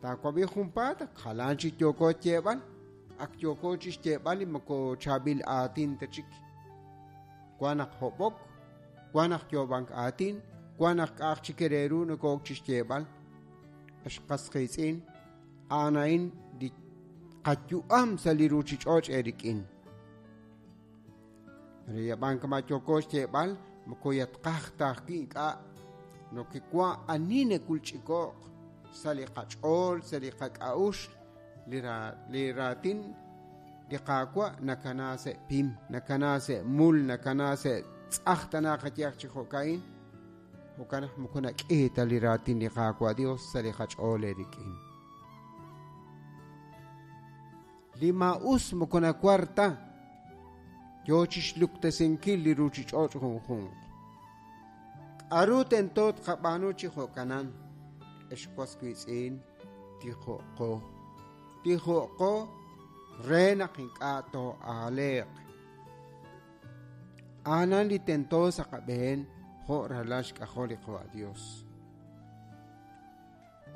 Taawab'i junpaat ak jalan chik yooko xyeeb'al, ak yooko chi xyeeb'al li moko chaab'il aatin ta chik. Wan naq hob'ok, wan naq yoob'ank aatin, wan naq k'a'aq chik re ru nokook chi xyeeb'al. Ex qas qiitz'in, a'an a'in li qayu'am sa' li ruuchich'och' eerik'in. Re yab'an kama' yooko xyeeb'al, moko yatqaj ta ajwi' ink'a' nokewa' ani nakulch'iko'q sa' li qach'ool, sa' li qak'a'uxl, li raatin li Qaawa' nakana sa' pim, nakana sa' mul, nakana sa' tz'aj tana qayehaq chi jo'ka'in. Jo'kan naq moko nak'i ta li raatin li Qaawa' Dios sa' li qach'ool eerik'in. Li maa'us moko nawar ta, yo chi xluktesinkil li ruuchich'och' junjunq. K'aru tento tqab'aanu chi jo'kanan, ex was wiitz'in? Tijo'qo. Tijo'qo re naq ink'a' too'aaleeq. A'anan li tento sa' qab'een jo' ralal xk'ajol li Qawa' Dios.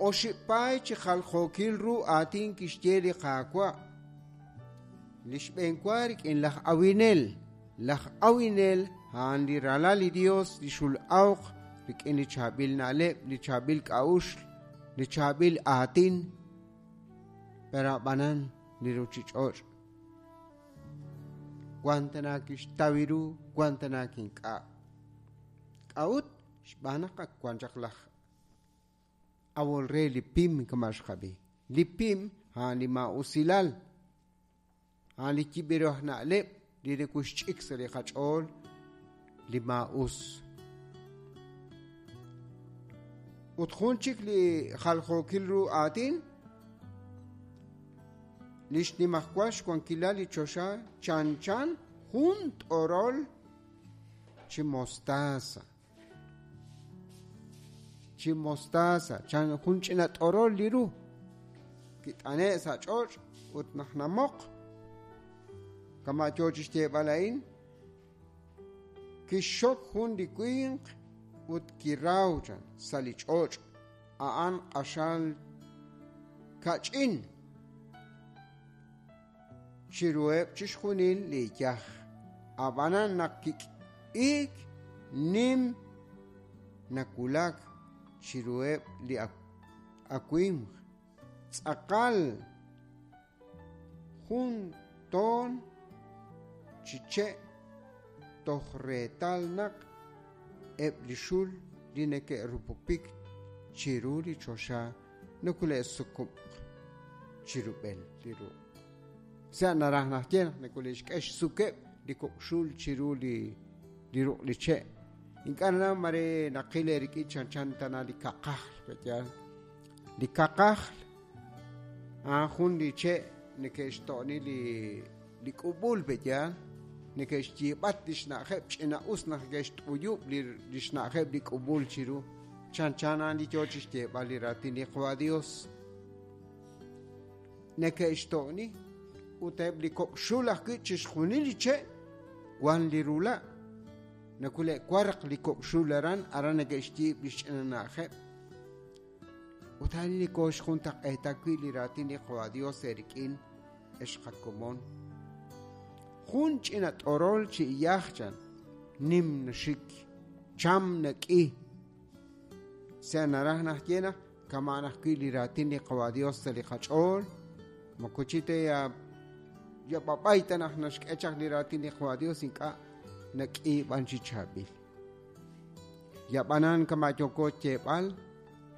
Oxib' paay chi jaljookil ru aatin kixye li Qaawa'. Li xb'eenwa rik'in laj awinel. Laj awinel a'an li ralal li Dios li xul'awq rik'in li chaab'il na'leb', li chaab'il k'a'uxl, li chaab'il aatin. Pero a'b'anan li ruchich'och' wan tana kixtaw ru, wan tana kink'a'. K'a'ut? Xb'aan naq ak wan chaq laj awol re li pim kama' xqab'i. Li pim a'an li maa'usilal, a'an li yib'ru aj na'leb' li nakuxch'ik sa' li qach'ool li maa'us. Ut jun chik li jaljookil ru aatin, li xnimajwal xwankilal li choxa chanchan jun t'orol chi mostaza. Chi mostaza, chan jun ch'ina t'orol li ru. Kit'ane' sa' ch'och' ut naq namoq, kama' yoo chi xyeeb'al a'in, kixxok jun li winq ut kiraw chan sa' li ch'och', a'an q'axal kach'in chiruheb' chixjunil li iyaj. Ab'anan naq kik'iik nim nawulak chiruheb' li awimq, tz'aqal jun toon chi che' toj reetal naq eb' li xul li neke'rupupik chiru li choxa nokole'sukub'q chirub'el li ruq'. Sa' naraj naxye naq nokole'xk'e xsukeb' li kok' xul chiru li li ruq' li che'. Ink'a' nanaw mare naqil eerik'in chanchan tana li kaqajl, pe'yaal. Li kaqajl a'an jun li che' neke'xto'ni li li k'ub'ul, pe'yaal. Neke'xyiib'at li xna'ajeb' ch'ina'us naq neke'xt'uyub' li li xna'ajeb' li k'ub'ul chiru. Chanchan a'an li yoo chixyeeb'al li raatin li Qawa' Dios. Neke'xto'ni ut eb' li kok' xul ajwi' chixjunil li che' wan li rula'. Nakule'warq li kok' xul aran, aran neke'xyiib' li xch'ina na'ajeb'. Ut a'in li kooxjuntaq'eeta wi' li raatin li Qawa' Dios eerik'in, ex qakomon. Jun ch'ina t'orol chi iyaj chan, nim naxik, cham nak'i. Sa' naraj naxye naq kama'an ajwi' li raatin li Qawa' Dios sa' li qach'ool, moko chi ta ya b'ab'ay ta naq naxk'e chaq li raatin li Qawa' Dios ink'a' nak'i b'an chi chaab'il. Yab'anan kama' yooko xyeeb'al,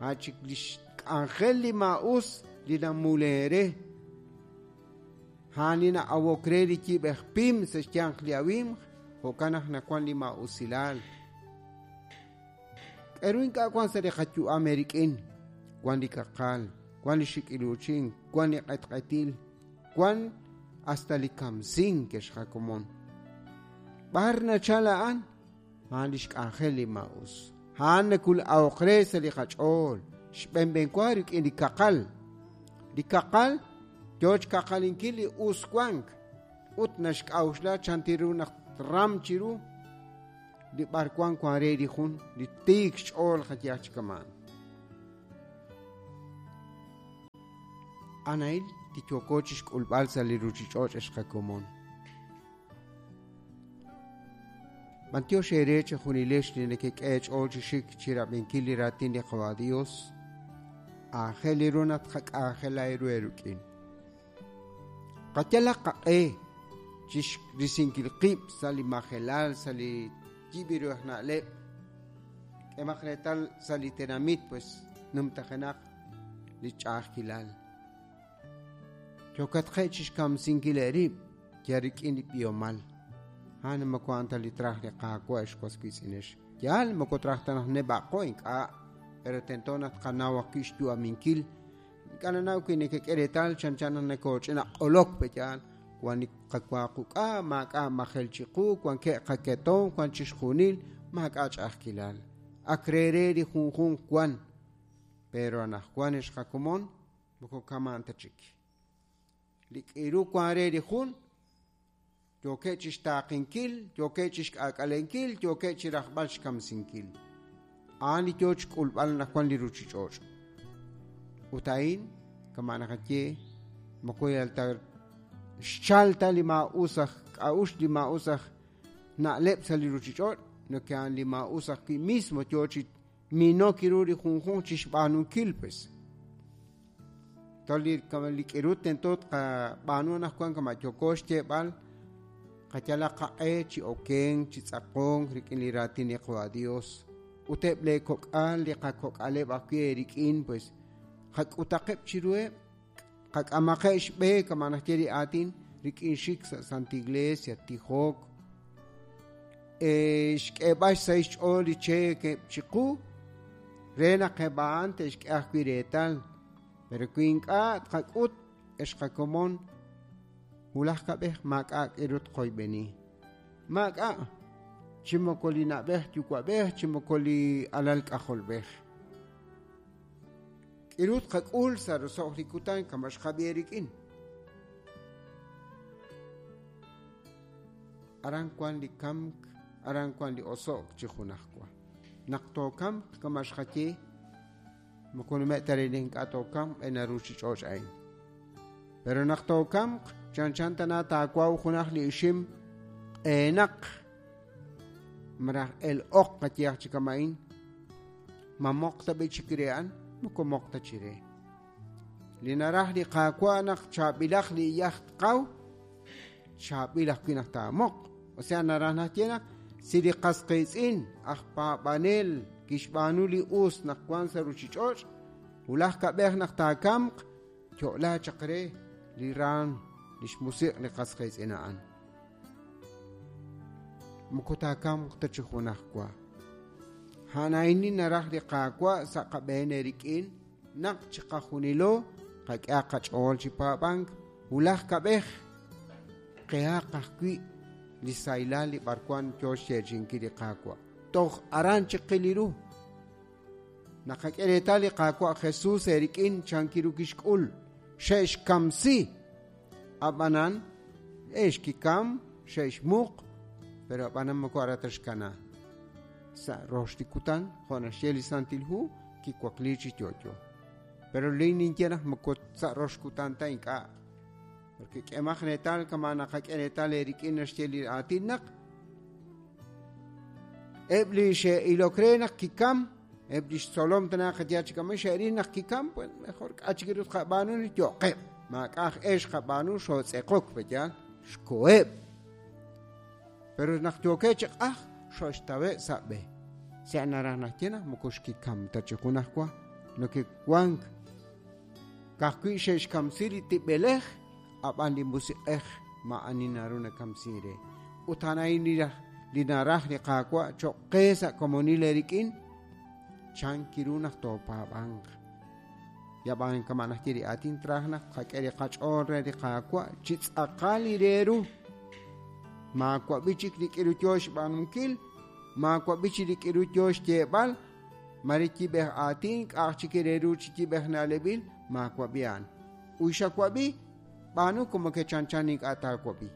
a' chik li xk'anjel li maa'us li namule re. A'an li na'awok re li yib'ej pim sa' xyanq li awimq, jo'kan naq nawank li maa'usilal. K'aru ink'a' wank sa' li qayu'am eerik'in? Wank li kaqal, wank li xik'iluuchink, wank li q'etq'etil, wank hasta li kamsink, ex qakomon. B'ar nachal a'an? A'an li xk'anjel li maa'us. A'an nakul'awoq re sa' li qach'ool, xb'enb'enwa rik'in li kaqal. Li kaqal yoo xkaqalinkil li us wank ut naxk'a'uxla chan ru naq tram chiru li b'arwan wan re li jun li tiik xch'ool qayehaq chi kama'an. A'an a'in li yooko chixk'ulb'al sa' li ruchich'och' ex qakomon. B'antiox eere chejunilex li nekek'e eech'ool chi xik chirab'inkil li raatin li Qawa' Dios. Aajel ru naq tqak'anjela eeru eerik'in. Qayalaq qaq'e chixrisinkil qib' sa' li majelal, sa' li yib' ru aj na'leb'. K'emaq reetal sa' li tenamit pues numtajenaq li ch'a'ajkilal. Yookatqe' chixkamsinkil eerib' yal rik'in li b'ihomal. A'an moko a'an ta li traj li Qaawa' ex was wiitz'inex. Yaal moko traj ta naq neb'a'qo ink'a', pero tento naq tqanaw ajwi' xyu'aminkil. Ink'a' nanaw wi nekek'e reetal chanchan naq nakooch'ina q'olok pe yaal. Wan li qawa quk'a', maak'a' majel chiqu, wankeb' qaketomq, wan chixjunil, maak'a' ch'a'ajkilal. Ak re re li junjunq wan. Pero anaqwan ex qakomon moko kama'an ta chik. Li k'iru wan re li jun yookeb' chixtaaqinkil, yookeb' chixk'aak'alenkil, yookeb' chirajb'al xkamsinkil. A'an li yoo chik'ulb'al anaqwan li ruchich'och'. Ut a'in, kama' naqaye, moko yal ta xchal ta li maa'us aj k'a'uxl, li maa'us aj na'leb' sa' li ruchich'och', nok a'an li maa'us ajwi' mismo yoo chi minok ru li junjunq chixb'aanunkil pues. Tol li k'iru tento tqab'aanu anaqwan kama' yooko xyeeb'al, qayalaq qaq'e chi okenk, chi tz'aqonk rik'in li raatin li Qawa' Dios. Ut eb' lee kok'al, li qakok'aleb' ajwi' eerik'in pues qak'utaqeb' chiruheb', qak'amaqeb' xb'e kama' naxye li aatin rik'in xik sa' Santa Iglesia, tijok, xk'eeb'al xsahil xch'ool li cheekeb' chiqu re naq eb' a'an te'xk'e ajwi' reetal. Pero wi ink'a' tqak'ut ex qakomon, wulaj kab'ej maak'a' k'iru tqoyb'eni. Maak'a' chi moko li na'b'ej yuwa'b'ej, chi moko li alal k'ajolb'ej. K'iru tqak'ul sa' roso'j li kutan kama' xqab'i eerik'in. Aran wan li kamk, aran wan li oso'k chi junajwa. Naq tookamq kama' xqaye, moko nume' ta re li ink'a' tookamq b'e na ruchich'och' a'in. Pero naq tookamq, chanchan tana taawaw junaj li ixim q'eenaq malaj el-oq qayehaq chi kama'in, ma moq ta b'i chik re a'an, moko moq ta chire. Li naraj li Qaawa' naq chaab'ilaq li iyaj tqaw, chaab'il ajwi' naq taamoq. O sea, naraj naxye naq si li qas qiitz'in aj paab'anel kixb'aanu li us naq wan sa' ruchich'och', wulaj kab'ej naq taakamq, yo'la chaq re li raam li xmusiq' li qas qiitz'in a'an. Moko taakamq ta chi junajwa. A'an a'in li naraj li Qaawa' sa' qab'een eerik'in naq chiqajunilo qak'ehaq qach'ool chi paab'ank wulaj kab'ej qehaq ajwi' li sahilal li b'arwan yoo xyeechi'inkil li Qaawa'. Toj aran chiqil li ru. Naqak'e reetal li Qaawa' Jesus eerik'in chankiru kixk'ul. Xe'xkamsi. Ab'anan, ex kikam, xe'xmuq, pero ab'anan moko ara ta xkana. Sa' rox li kutan, jo' naxye li Santil Hu, kiwakli chi yo'yo. Pero li ninye naq moko sa' rox kutan ta ink'a'. Porque k'emaq reetal kama naqak'e reetal eerik'in naxye li aatin naq eb' li xe'ilok re naq kikam, eb' li xtzolom tana qaye chi kama'in xe'ril naq kikam, pues mejor k'a' chik ru tqab'aanu yo'qeb'. Maak'a' aj ex qab'aanu xootz'eqok pe yaal, xkoheb'. Pero naq yookeb' chi q'aj, xo'xtawe' sa' b'e. Sa' naraj naxye naq moko xkikam ta chi junajwa, nokewank. Ka'ajwi' xe'xkamsi li tib'elej, ab'an li musiq'ej maa'ani naru nakamsin re. Ut a'an a'in li naraj li Qaawa' cho'q qe sa' komonil eerik'in, chankiru naq toopaab'anq. Yab'an kama' naxye li aatin traj naq tqak'e li qach'ool re li Qaawa' chi tz'aqal li re ru. Maawab'i chik li k'iru yoo xb'aanunkil, maawab'i chik li k'iru yoo xyeeb'al, mare yib'ej aatin, k'a'aj chik re ru chi yib'ej na'leb'il, maawab'i a'an. Uy xawab'i, b'aanu como que chanchan ink'a' taawab'i.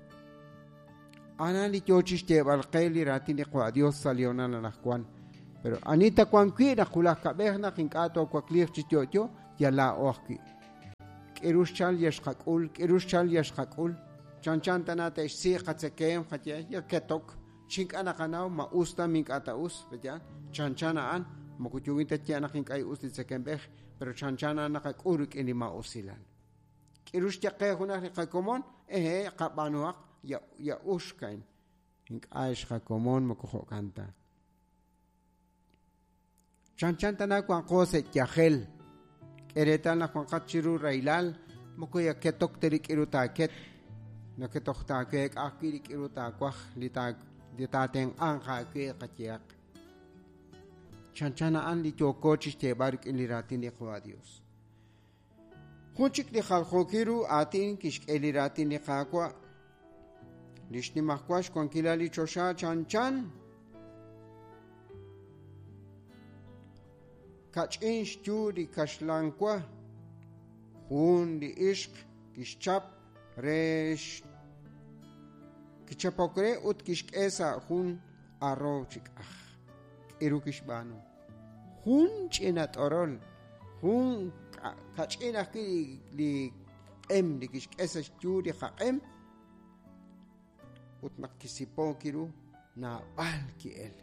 A'an li yoo chi xyeeb'al qe li raatin li Qawa' Dios sa' li honal anaqwan. Pero ani ta wan wi' naq wulaj kab'ej naq ink'a' toowakliiq chi yo'yo, yal laa'o ajwi'. K'iru xchal ya xqak'ul, k'iru xchal ya xqak'ul. Chanchan tana te'xsi qatzekemq qaye ya ketok chi ink'a' naqanaw ma us ta ma ink'a' ta us, pe'yaal? Chanchan a'an moko yookin ta xyeeb'al naq ink'a' us li tzekemb'ej, pero chanchan a'an naqak'ul rik'in li maa'usilal. K'iru xye qe junaq li qakomon, ehe, qab'aanuhaq ya ya uxk a'in. Ink'a' ex qakomon moko jo'kan ta. Chanchan tana wanqo sa' yajel. K'e reetal naq wanqat chiru rahilal, moko ya ketok ta li k'iru taaket, naketoj taaweek'a ajwi' li k'iru taawaj li li taatenq'anq aawe qayehaq. Chanchan a'an li yooko chixyeeb'al rik'in li raatin li Qaawa' Dios. Jun chik li jaljookil ru aatin kixk'e li raatin li Qaawa', li xnimajwal xwankilal li choxa chanchan kach'in xyu li kaxlan wa, jun li ixq kixchap re kichapok re ut kixk'e sa' jun aroow chi k'aj. K'iru kixb'aanu. Jun ch'ina t'orol, jun kach'in ajwi' li q'em li kixk'e sa' xyu li qaq'em ut naq kisipook ru naab'al ki'el.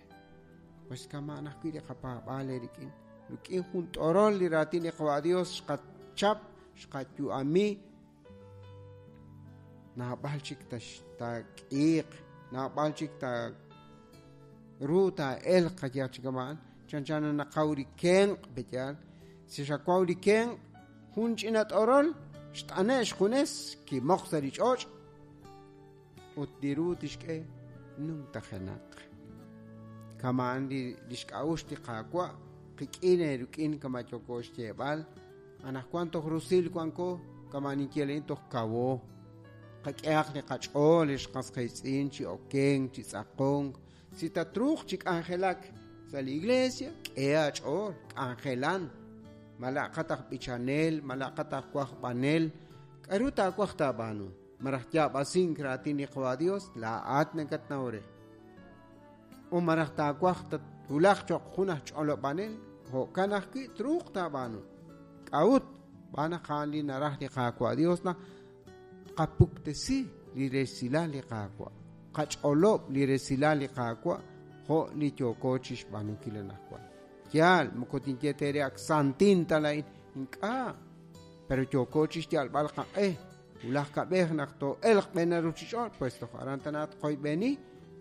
Pues kama'an ajwi' li qapaab'aal eerik'in. Rik'in jun t'orol li raatin li Qawa' Dios xqachap, xqayu'ami, naab'al chik taak'iiq, naab'al chik ta ru taa'elq qayehaq chi kama'an, chanchan naqaw li kenq' pe'yaal, si xawaw li kenq' jun ch'ina t'orol xt'ane' xjunes kimoq sa' li ch'och' ut li ru tixk'e numtajenaq. Kama'an li lix k'a'uxl li Qaawa' qik'in eerik'in kama' yooko xyeeb'al, Anaqwan toj rusil wanko, kama' ninye laa'in toj kawo. Qak'ehaq li qach'ool ex qas qiitz'in chi okenk, chi tz'aqonk. Si tatruuq chi k'anjelak sa' li iglesia, k'e aach'ool, k'anjelan. Mala'qat aj b'ichanel, mala'qat aj wajb'anel, k'aru taawaj taab'aanu? Malaj yaab'asink raatin li Qawa' Dios, laa'at nakatnaw re. U malaj taawaj tatwulaq cho'q jun aj ch'olob'anel, jo'kan ajwi' truuq taab'aanu. K'a'ut? Xb'aan naq a'an li naraj li Qaawa' Dios naq tqapuktesi li resilal li Qaawa', qach'olob' li resilal li Qaawa' jo' li yooko chi xb'aanunkil anaqwan. Yaal, moko tinye teere ak santin ta laa'in, ink'a', pero yooko chi xyalb'al qaq'e. Wulaj kab'ej naq too'elq b'een ruuchich'och', pues toj aran tana tqoyb'eni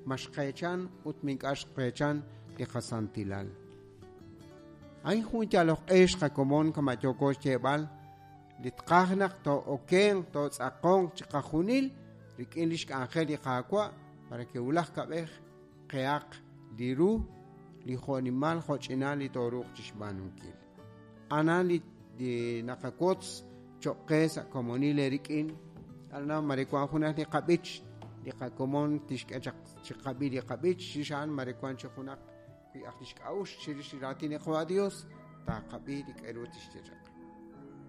ma xqeechan ut ma ink'a' xqeechan li qasantilal. A'in jun yalok q'e xqakomon kama' yooko xyeeb'al li tqaj naq too'okenq, tootz'aqonq chiqajunil rik'in lix k'anjel li Qaawa' para que wulaj kab'ej qehaq li ru li jo'nimal jo'ch'inal li tooruuq chixb'aanunkil. Anan li naqawotz choq' qe sa' komonil eerik'in. Aran mare wank junaq li qab'ich, li qakomon tixk'e chaq chiqab'i li qab'ich, chirix a'an mare wank chi junaq wi aj lix k'a'uxl chirix li raatin li Qawa' Dios, taaqab'i li k'a'ru tixye chaq.